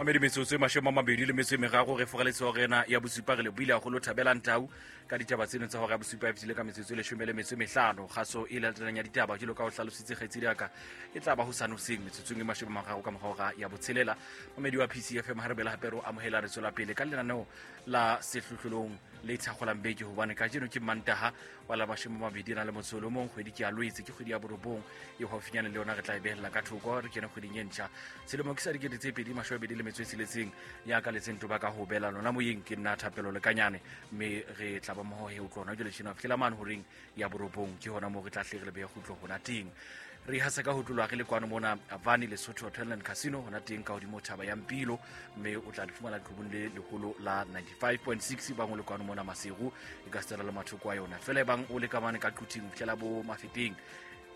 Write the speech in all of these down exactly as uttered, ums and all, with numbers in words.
Mamedi metsotso e mashome a mabedi le metso e meraro re foraletse hore ena ya bosupa re le buile haholo Thabelang Tau ka ditaba tseno tsa hora ya bosupa e fetile ka metsotso e leshome le metso e mehlano. Kgaso e latelang ya ditaba jwalo ka ho hlalositse kgaitsedi ya ka e tla ba hosane hoseng metsotsong e mashome a mararo ka mora hora ya botshelela. Mamedi wa P C F M ha re bela hape re o amohela re tswela pele ka lenaneo la sehlohlolong le thakgolang beke hobane kajeno ke Mantaha wa la mashome a mabedi a na le motso o le mong, kgwedi ke ya Lwetse, ke kgwedi ya borobong e haufinyane le yona re tla e behella ka thoko re kene kgweding e ntjha. Selemo ke sa dikete tse pedi mashome a mabedi le metso e tsheletseng ya ka letseng toba ka ho bela lona moyeng ke nna Thapelo Lekanyane mme re tla ba mmoho he o tlona jwale tjena fihlela mane horeng ya borobong ke hona moo re tla hle re le behe kgutlo hona teng. Re hasa ka ho tlolwa re le kwano mona Avani Lesotho Hotel and Casino hona teng ka hodimo thaba ya Mpilo mme o tla di fumana leqhubung le leholo la ninety-five point six bang o le kwano mona Maseru e ka setsela le mathoko a yona fela e bang o le ka mane ka Quthing ho fihlela bo Mafeteng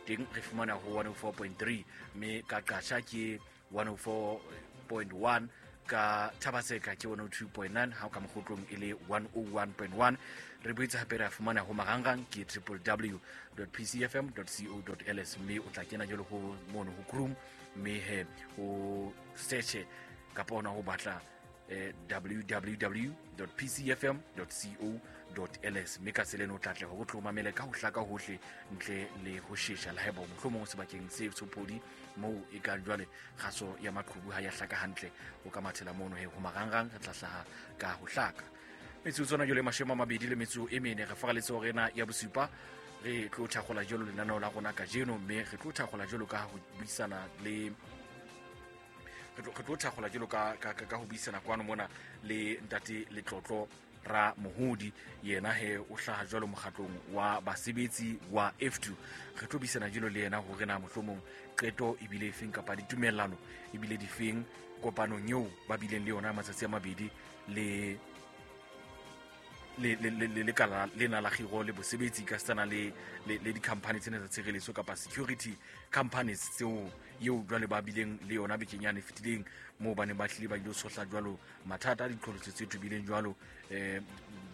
teng re fumana ho one oh four point three mme ka Qasha ke one oh four point one ka Thabaseka ke one oh two point nine ha ka Mokgotlong e le one oh one point one re boetse hape re a fumana ho marangrang ke triple w dot p c f m dot co dot l s mme o tla kena jwalo ho mono ho Chrome mme he o search kapa ona ho batla eh, w w w dot p c f m dot co dot l s mme ka tsela eno o tla tle hore o tlo mamele ka ho hlaka hohle ntle le ho shesha le haeba mohlomong sebakeng se sopodi moo e kang jwale kgaso ya maqhubu ha ya hlaka hantle o ka mathela mono he ho marangrang re tla hlaha ka ho hlaka. Metsotso tsona jwale mashome a mabedi le metso e mene re faraletse hore ena ya bosupa re tlo thakgola jwalo lenaneo la rona kajeno mme re tlo thakgola jwalo ka ho buisana le re tlo, re tlo thakgola jwalo ka, ka, ka, ka ho buisana kwano mona le ntate Letlotlo Ra Mohodi yena he o hlaha jwalo mokgatlong wa basebetsi wa F two. Re tlo buisana jwalo le yena hore na mohlomong qeto ebile efeng kapa ditumellano ebile difeng kopanong eo ba bileng le yona matsatsi a mabedi le le le le le lekala lena la kgiro le bosebetsi ka setsana le le le di-company tsena tsa tshireletso kapa security companies tseo eo jwale ba bileng le yona bekeng yane e fetileng moo ba neng ba hlile ba ilo tshohla jwalo mathata a diqholotso tse tobileng jwalo eh,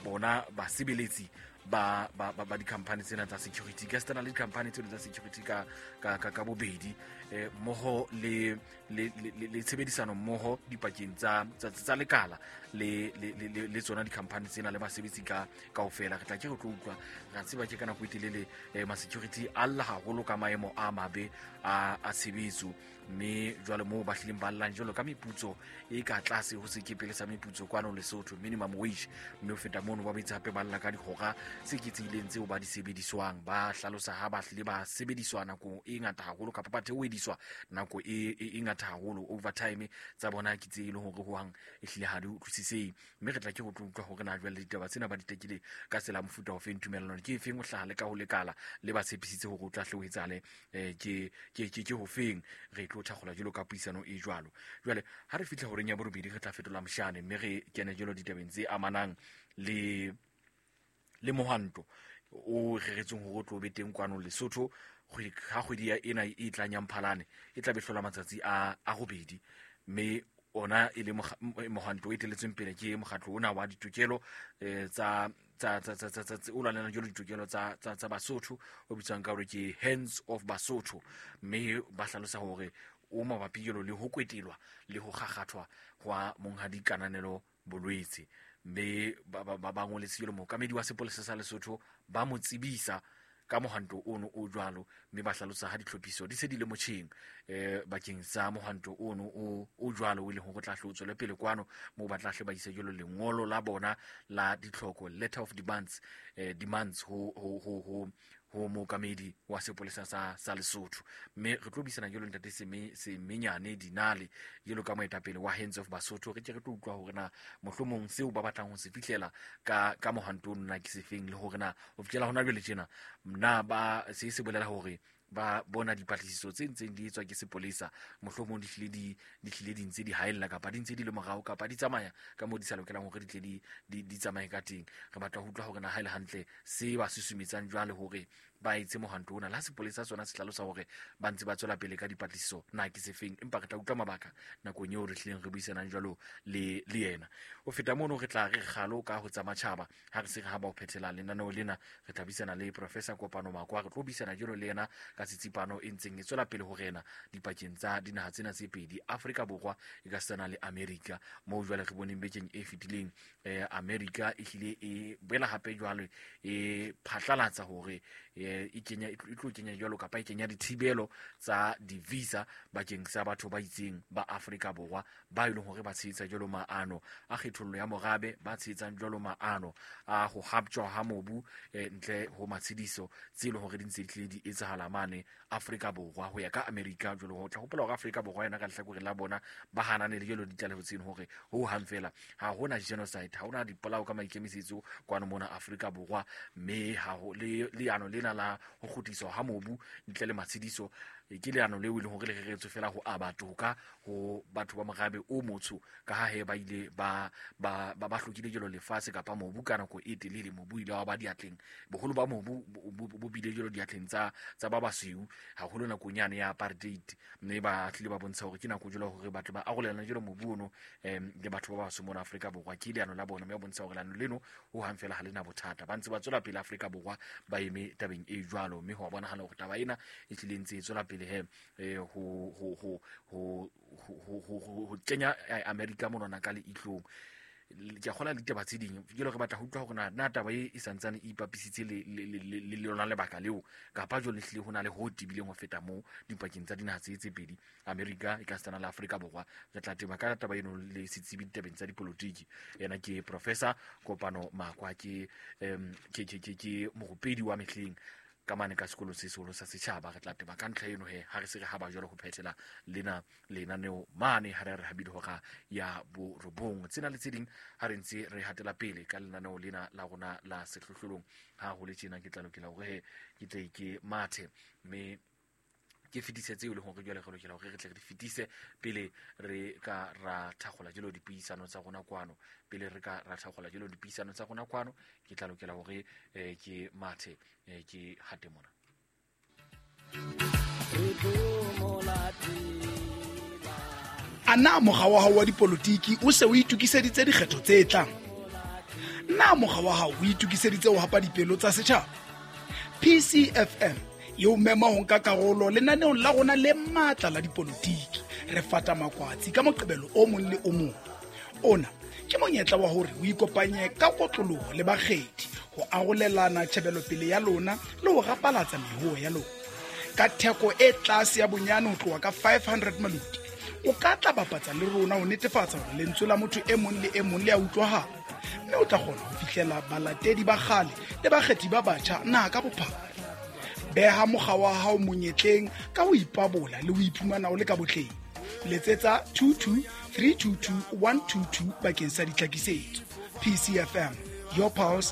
bona basebeletsi ba, ba, ba, ba di-company tsena tsa security ka setsana le di-company tseno tsa security ka, ka, ka, ka bobedi eh, mmoho le, le, le, le, le tshebedisano mmoho dipakeng tsa, tsa, tsa lekala le, le, le, le, le tsona di-company tsena le basebetsi ka kaofela. Re tla ke re tlo utlwa ra tseba ke ka nako e telele eh, ma-security a lla haholo ka maemo a mabe a, a tshebetso mme jwale moo ba hlileng ba llang jwalo ka meputso e ka tlase ho sekepele sa meputso kwano Lesotho minimum wage mme ho feta mono ba boetse hape ba lla ka dihora tse eketsehileng tseo ba di sebediswang ba hlalosa ha ba hlile ba sebediswa nako e ngata haholo kapa ba theohediswa nako e, e, e ngata haholo overtime tsa bona ke tse e leng hore hohang e hlile ha di utlwisisehe mme re tla ke go tlo utlwa hore na jwale ditaba tsena ba di tekile ka tsela ya mofuta ofeng tumellano ke efeng ho hlaha le ka ho lekala le ba tshepisitse hore o tla hle o etsahale eh, ke, ke, ke, ke hofeng re tlo thakgola jwalo ka puisano e jwalo. Jwale ha re fihla horeng ya borobedi re tla fetola moshane mme re kene jwalo ditabeng tse amanang le le mohwanto o reretsweng hore o tlo be teng kwano Lesotho kgwedi, ha kgwedi ya ena e tlang ya Mphalane e tla be hlola matsatsi a, a robedi mme ona e le mokga-, m-, mohwanto o etelletsweng pele ke mokgatlo ona wa ditokelo, eh, tsa, tsa, tsa, tsa, tsa, tsa, tse, o lwanelang jwalo ditokelo tsa, tsa, tsa Basotho o bitswang ka hore ke Hands of Basotho mme ba hlalosa hore o mabapi jwalo le ho kwetelwa le ho kgakgathwa hwa monghadi Kananelo Bolwetse mme ba, ba, ba, ba ngoletse jwalo mookamedi wa sepolesa sa Lesotho ba mo tsebisa ka mohwanto ono o jwalo mme ba hlalosa ha ditlhophiso di se di le motjheng, eh, bakeng sa mohwanto ono o, o jwalo o e leng hore o tla hle o tswele pele kwano moo ba tla hle ba ise jwalo lengolo la bona la ditlhoko letter of demands, eh, demands ho, ho, ho, ho, ho mookamedi wa sepolesa sa, sa Lesotho mme re tlo buisana jwalo ntate Seme-, Semenyane Dinale jwalo ka moetapele wa Hands of Basotho re ke re tlo utlwa hore na mohlomong seo ba batlang ho se fihlela ka, ka mohwanto ono na ke sefeng le hore na ho fihlela hona jwale tjena na ba se se bolela hore ba bona dipatlisiso tse ntseng di etswa ke sepolesa mohlomong di hlile di, di hlile di ntse di haella kapa di ntse di le morao kapa di tsamaya ka moo di sa lokelang hore di tle di, di, di tsamaye ka teng. Re batla ho utlwa hore na ha e le hantle se ba susumetsang jwale hore ba etse mohwanto ona. La sepolesa sona se hlalosa hore ba ntse ba tswela pele ka dipatlisiso na ke sefeng, empa re tla utlwa mabaka nakong eo re hlileng re buisanang jwalo le le yena. Ho feta mono re tla re kgalo ka ho tsa matjhaba ha re se re haba ho phethela lenaneo lena, re tla buisana le Professor Kopano Makwa. Re tlo buisana jwalo le yena ka tsitsipano e ntseng e tswela pele ho rena dipakeng tsa dinaha tsena tse pedi, Afrika Borwa e ka setsana le Amerika, moo jwale re boneng bekeng e fetileng eh, Amerika e hlile e boela hape jwale e phatlalatsa hore e kenya e tlo kenya jwalo kapa e kenya dithibelo tsa di-visa bakeng sa batho ba itseng ba Afrika Borwa ba e leng hore ba tshehetsa jwalo maano a kgethollo ya morabe, ba tshehetsang jwalo maano a ho haptjwa ha mobu eh, ntle ho matshediso tse leng hore di ntse di tlile di etsahala mane Afrika Borwa ho ya ka Amerika. Jwalo ho tla hopola hore Afrika Borwa yona ka lehlakoreng la bona ba hanane le jwalo ditlaleho tseno hore ho hang fela ha hona genocide, ha hona dipolao ka maikemisetso kwano mona Afrika Borwa, mme ha ho le leano lena la ho kgutliswa ha mobu ntle le matshediso ke leano leo e leng hore le reretswe fela ho aba toka ho batho ba morabe o motsho, ka ha he ba ile ba ba ba hlokile jwalo lefatshe kapa mobu ka nako e telele. Mobu ile wa ba diatleng, boholo ba mobu bo bile jwalo diatleng tsa tsa ba basweu haholo nakong yane ya apartheid, mme ba tlile ba bontsha hore ke nako jwalo hore batho ba arolelana jwalo mobu ono em le batho ba basweu mona Afrika Borwa. Ke leano la bona, mme ba bontsha hore leano leno ho hang fela ha lena bothata, ba ntse ba tswela pele Afrika Borwa ba eme tabeng e jwalo, mme ho bonahala hore taba ena e tlile ntse e tswela pele he eh ho ho ho ho ho ho kenya Amerika monona ka leihlong. Ke a kgola le ditaba tse ding jwale re batla ho utlwa hore na na taba e e santsane e ipapisitse le le lona lebaka leo kapa jwale hlile ho na le ho tebileng ho feta moo dipakeng tsa dinaha tse tse pedi, Amerika e ka setsana le Afrika Borwa. Re tla teba ka taba eno le setsebi ditabeng tsa dipolotiki, yena ke Professor Kopano Makwa, ke ke ke ke morupedi wa mehleng ka mane ka sekolo se seholo sa setjhaba. Re tla teba ka ntlha eno he ha re se re haba jwalo ho phethela lena lenaneo mane ha re re habile hora ya borobong. Tsena le tse ding ha re ntse re hatela pele ka lenaneo lena la rona la sehlohlolong. Ha ho le tjena ke tla lokela hore he ke tle ke mathe mme ke fetise tseo e leng hore jwale re lokela hore re tle re di fetise pele re ka ra thakgola jwalo dipuisano tsa rona kwano, pele re ka ra thakgola jwalo dipuisano tsa rona kwano ke tla lokela hore eh, ke mathe eh, ke hate mona. A na mokga wa hao wa dipolotiki o se o itokiseditse dikgetho tse tlang? Na mokga wa hao o itokiseditse ho hapa dipelo tsa setjhaba? P C F M eo mema ho nka karolo lenaneong la rona le matla la dipolotiki. Re fata makwatsi ka Moqebelo o mong le o mong. Ona ke monyetla wa hore o ikopanye ka kotloloho le bakgethi ho arolelana tjhebelopele ya lona le ho rapalatsa mehoo ya lona. Ka theko e tlase ya bonyane ho tloha ka five hundred maloti, o ka tla bapatsa le rona ho netefatsa hore lentswe la motho e mong le e mong le a utlwahala, mme o tla kgona ho fihlela balatedi ba kgale le bakgethi ba batjha naha ka bophara. Beha mokga wa hao monyetleng ka ho ipabola le ho iphumana o le ka botleng. Letsetsa two two three two two one two two bakeng sa ditlhakisetso. P C F M, your pulse,